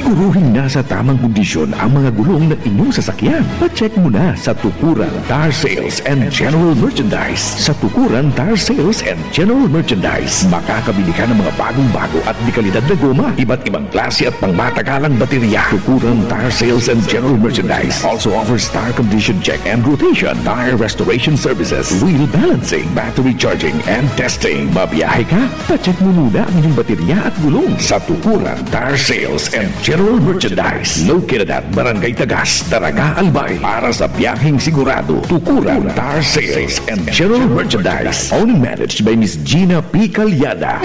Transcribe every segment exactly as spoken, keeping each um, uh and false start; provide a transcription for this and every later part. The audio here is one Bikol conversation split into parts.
Guruhing nasa tamang kondisyon ang mga gulong ng inyong sasakyan. Pa-check mo na sa Tukuran Tire Sales and General Merchandise. Sa Tukuran Tire Sales and General Merchandise, makakabili ka ng mga bagong-bago at dekalidad na goma, iba't ibang klase at pangmatagalang baterya. Tukuran Tire Sales and General Merchandise also offers tire condition check and rotation, tire restoration services, wheel balancing, battery charging, and testing. Babiyahe ka? Pa-check mo muna ang inyong baterya at gulong sa Tukuran Tire Sales and General Merchandise, located at Barangay Tagas, Daraga, Albay. Para sa biyaheng sigurado, Tukuran Tire Sales and General Merchandise. Owned and managed by Miss Gina P. Calyada.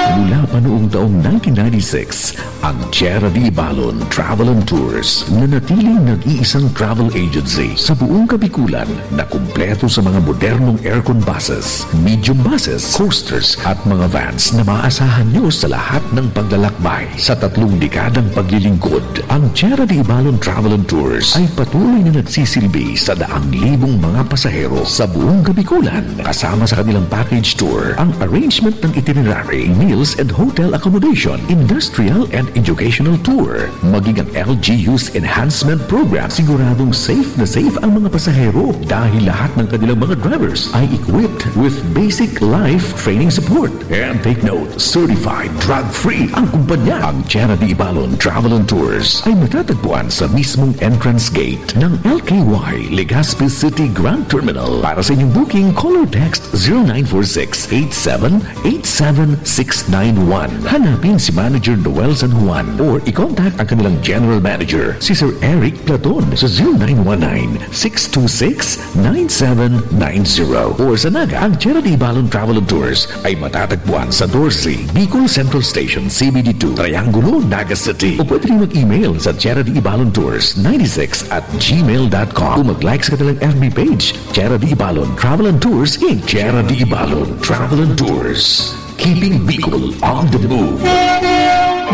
Mula pa noong taong nineteen ninety-six, ang Tierra de Ibalon Travel and Tours, nanatiling nag-iisang travel agency sa buong Kabikulan na kumpleto sa mga modernong aircon buses, medium buses, coasters at mga vans na maaasahan nyo sa lahat ng paglalakbay. Sa tatlong dekadang paglilingkod, ang Tierra de Ibalon Travel and Tours ay patuloy na nagsisilbi sa daang libong mga pasahero sa buong Kabikulan, kasama sa kanilang package tour, ang arrangement ng itinerary, meals and hotel accommodation, industrial and educational tour, maging ang L G U's enhancement program. Siguradong safe na safe ang mga pasahero dahil lahat ng kanilang mga drivers ay equipped with basic life training support. And take note, certified drug-free ang kumpanya. Ang Tierra de Ibalon Travel and Tours ay matatagpuan sa mismong entrance gate ng L K Y Legazpi City Grand Terminal. Para sa inyong booking, call or text zero nine four six eight seven eight seven six nine one. Hanapin si Manager Noel San Juan or i-contact ang kanilang General Manager, si Sir Eric Platon, sa zero nine one nine six two six nine seven nine zero. Or sa Naga, ang Tierra de Ibalon Travel and Tours ay matatagpuan sa doce, Bicol Central Station, C B D two, Triangulo, Naga City. O pwede rin mag-email sa tierra de ibalon tours ninety six at gmail dot com o mag-like sa kanilang F B page, Tierra de Ibalon Travel and Tours, Inc. Tierra de Ibalon Travel and Tours, keeping Bicol on the move.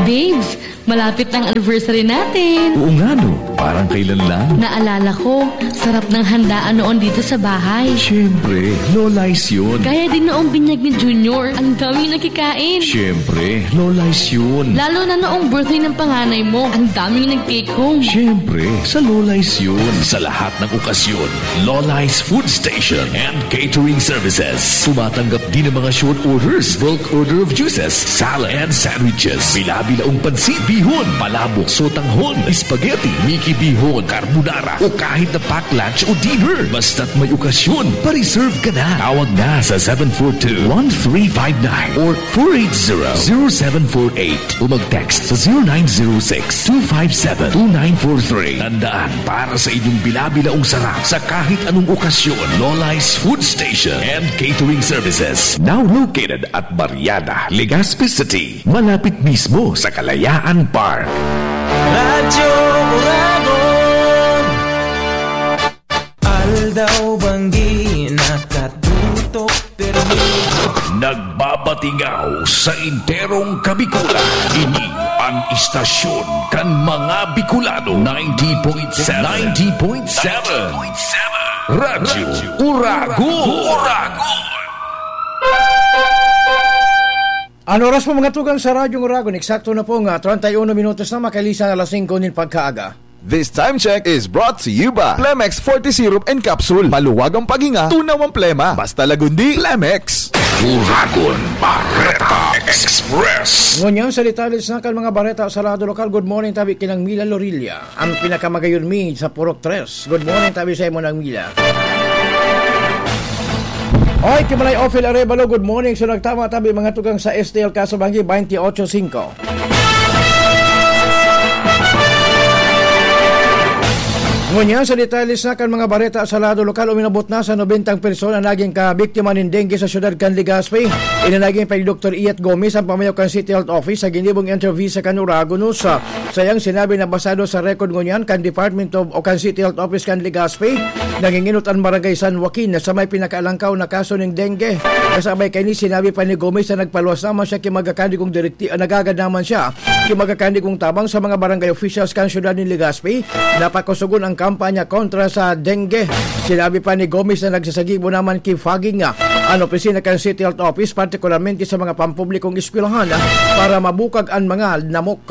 Babes, malapit na ang anniversary natin. Oo nga, no? Parang kailan lang. Naalala ko, sarap ng handaan noon dito sa bahay. Siyempre, Lola's yun. Kaya din noong binyag ni Junior, ang daming nakikain. Siyempre, Lola's yun. Lalo na noong birthday ng panganay mo, ang daming nag-take home. Siyempre, sa Lola's yun. Sa lahat ng okasyon, Lola's Food Station and Catering Services. Tumatanggap din ng mga short orders, bulk order of juices, salad, and sandwiches. Bila-bilaong pansit, bihon, palabok, sotanghon, spaghetti, Mickey bihon, carbonara, o kahit na pack lunch o dinner. Basta't may okasyon, pa-reserve ka na. Tawag na sa seven four two, one three five nine or four eight zero, zero seven four eight o mag-text sa zero nine zero six, two five seven, two nine four three. Tandaan, para sa inyong bila-bilaong sarap sa kahit anong okasyon, Lola's Food Station and Catering Services. Now located at Barriada, Legazpi City, malapit mismo sa Kalayaan Park. Radyo Uragon. Aldaw banggi nakatutok permi. Nagbabatingaw sa enterong Kabikulan. Ini ang istasyon kan mga Bicolano. Ninety point seven. Ninety point seven. Radyo Uragon. Uragon. An oras po, mga tugang, sa Radyo Uragon, eksakto na po nga treinta y uno minutos na makalisan alas singko nin pagkaaga. This time check is brought to you by Plemex forte Syrup and Capsule. Maluwag ang paghinga, tunaw ang plema. Basta Lagundi, Plemex. Uragon Bareta Express. Ngunyan sa detalye sa kan mga bareta sa lado lokal, good morning tabi ki Nang Mila Lorilla. Ang pinakamagayon mi sa Purok Tres. Good morning tabi sa imo, Nang Mila. Oy, Kimalay Ophel Arevalo, good morning. So, nagtama tabi mga tugang sa S T L Casobanggi, twenty-eight five. Ngunyan sa detalye sa kan mga bareta sa lado lokal, uminabot na sa nobentang persona naging kabiktima nin dengue sa syudad kan Legazpi. Ini naging pag Doktor Iet Gomez, ang pamayaw kan City Health Office, sa ginibong interview sa kan Uragon News. Sa iyang sinabi na basado sa record ngunyan kan Department of o kan City Health Office kan Legazpi, nanginginot an Barangay San Joaquin na sa may pinakaalangkaw na kaso ning dengue. Kasabay kaini, sinabi pa ni Gomez na nagpaluwas naman siya ki mga kandigong direkti-, nagagad naman siya ki mga kandigong tabang sa mga barangay officials kan siyudad nin Legazpi na pakusogon ang kampanya kontra sa dengue. Sinabi pa ni Gomez na nagsasagibo naman ki fogging, ah, an opisina kan City Health Office, partikularmente sa mga pampublikong eskwelahan, ah, para mabukag an mga lamok.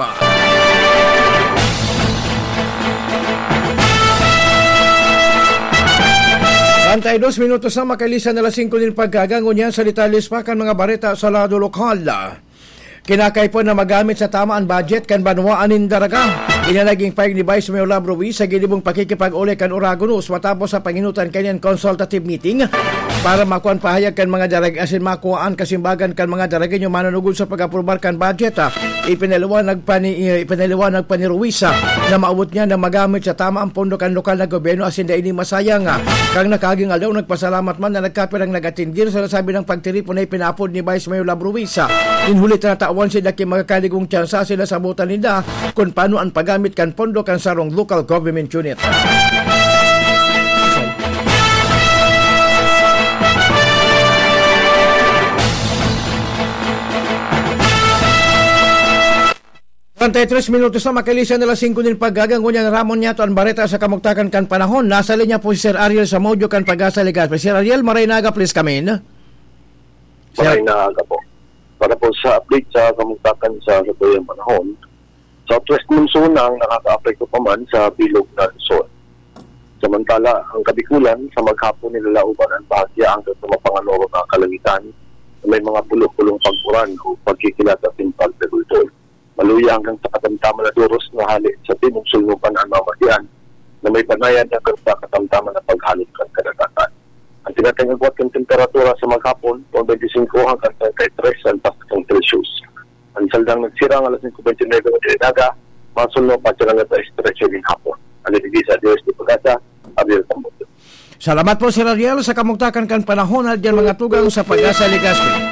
Antay dos minutos na makalisan na alas singko nin pagkaga, ngunyan sa detalles pa kan mga bareta sa lado lokal. Kinakaipon na magamit sa tama an budget kan banwaan nin Daraga. Iyan naging pahayag ni Vice Mayor Love Ruiz sa ginibong pakikipag-uli kan Oragonos matapos sa panginutan kaniyan consultative meeting para makuha an pahayag kan mga Darag asin makuha an kasimbagan kan mga Daragenyo manunugod sa pag-aprobar kan budget. Ipinaliwanag pa ni, ipinaliwanag pa ni Ruiz na maabot niya na magamit sa tama ang pondo kan lokal na gobyerno asin dai ini masayang. Kan nakaging aldaw, nagpasalamat man na nagkapirang nag-atindir sa nasabi ng pagtiripon na ipinaapod ni Vice Mayor Love Ruiz. Nin huli, tinatawan sinda ki magkakanigong tsansa sila sa butan ninda kun paano ang paggamit kan pondo kan sarong local government unit. Treinta y tres minutos na makalisan na alas singko nin pagkaga, ngunyan ramon niyato an bareta sa kamugtakan kan panahon. Nasa linya po si Sir Ariel Samudio kan Pag-asa Legazpi. Sir Ariel, maray na aga, please come in. Sir. Maray na aga po. Para po sa update sa kamugtakan sa satuyang panahon, southwest monsoon ang nakakaapekto pa man sa bilog na Luzon. Samantala, ang Kabikulan, sa maghapon nilalaoban ang bahagya hanggang sa mapanganoro na kalangitan na may mga pulo-pulong pag-uran o pagkikilat asin pagbagultol. Maluya hanggang sa katamtaman na doros na hale sa timog sulnupan ang mamatian na may banayad hanggang sa katamtaman na paghalot kan kadagatan. Ang tinatayong agwat kan temperatura sa maghapon, twenty-five hanggang thirty-three ang taas kan Celsius. Ang saldang nagsirang alas singko bente nuebe ng inaga, masulno pa siya hanggang sa estrecho nin hapon. Ang ibigay sa Diyos ni Pagasa, Ariel Tambok. Salamat po, Sir Ariel, sa kamugtakan kan panahon na diyan mga tugang sa Pag-asa Legazpi.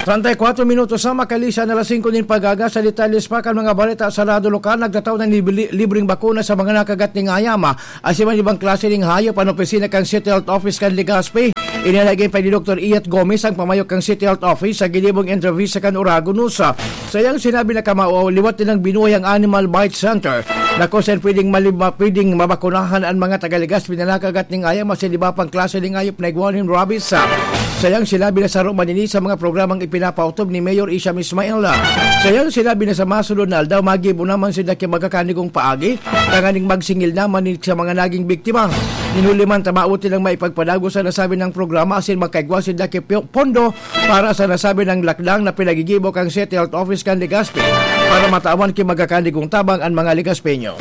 Treinta y cuatro minutos na makalisan na alas singko nin pagkaga. Sa detalles pa kan mga balita sa lado lokal, nagtatao ng libli-, libreng bakuna sa mga nakagat ning ayama. Asin man ibang klase ning hayop an opisina kan City Health Office kan Legazpi. Ini naging pa ni Doktor Iyat Gomez, ang pamayo kan City Health Office, sa ginibong entrevista kan Oragon News. Sa iyang sinabi na kamao, liwat nilang binuhay ang Animal Bite Center na kung saan pwedeng mali-, ma-, pwedeng mabakunahan an mga taga Legazpi na nakagat ning ayam asin iba pang klase ning hayop na igwa nin rabies. Sa iyang sinabi na saro man ini sa mga programang ipinapaotob ni Mayor Isham Ismail. Sa iyang sinabi na sa masunod na aldaw, magibo naman sinda ki magkakanigong paagi tanganing magsingil naman ni sa mga naging biktima. Hinuli man, tamaot nilang maipagpadagos sa nasabi ng programa asin magkaigwa sinda ki pi-, pondo para sa nasabi ng lakdang na pinagigibo kan City Health Office kan Legazpi para matawan ki magkakanigong tabang an mga Legazpeño.